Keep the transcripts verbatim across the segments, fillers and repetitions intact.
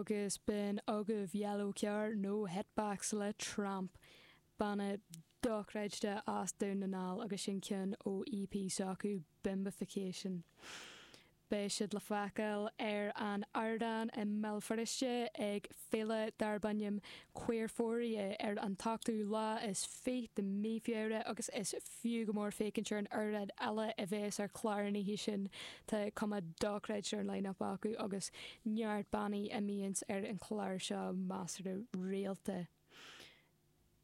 Agus b'in agaibh Yellowcar nó Hitbox le Tramp. Banna dochreidte as Dún na nGall agus sin ceann ó EP s'acu Bimbification. Beidh siad le feiceáil ar an ardán i mBéal Feirste ag féile darb ainm Queerphoria ar an t-ochtú lá is fiche de mí Feabhra agus is fiú go mór féachaint ar an oiread eile a bheas ar chlár an oíche sin tá cuma dochreidte ar an line-up acu agus neart bannaí a mbíonns ar an chlár seo measartha rialta.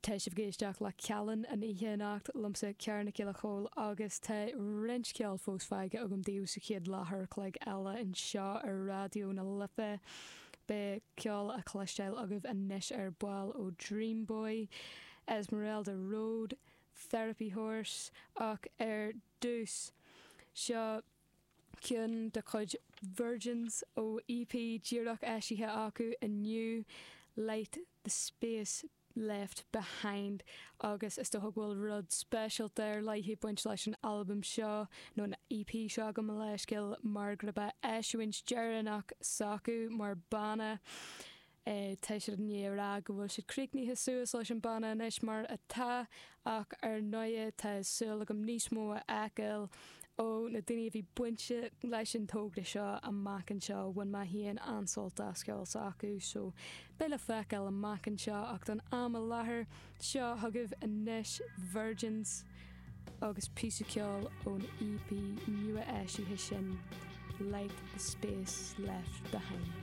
Tá sibh ag éisteacht le Cealann an oíche anocht liomsa Ciara Nic Giolla Chóill agus tá roinnt ceol fós fágtha agam daoibh sa chéad leathuair an chloig eile anseo ar Raidió na Life. Beidh ceol á chloisteáil agaibh anois ar ball ó Dream Boy, Esmeralda Road, Therapy Horse ach ar dtús seo ceann de chuid Virgins ó EP díreach eisithe acu inniu Light the Space Left Behind agus is dócha go bhfuil rud speisialta ar leith ag baint leis an albam seo nó an EP seo gabh mo leithscéal mar gurb é eisiúint deireanach s'acu mar banna. E, tá siad i ndiaidh a rá go bhfuil siad críochnaithe suas leis an banna anois mar atá ach ar ndóigh tá súil agam níos mó a fheiceáil ó na daoine a bhí bainte leis an togra seo amach anseo bhain mé féin an-sult as ceol s'acu so beidh le feiceáil amach anseo ach don am i láthair seo chugaibh anois Virgins agus píosa ceoil ón EP nua eisithe sin Light the Space Left Behind.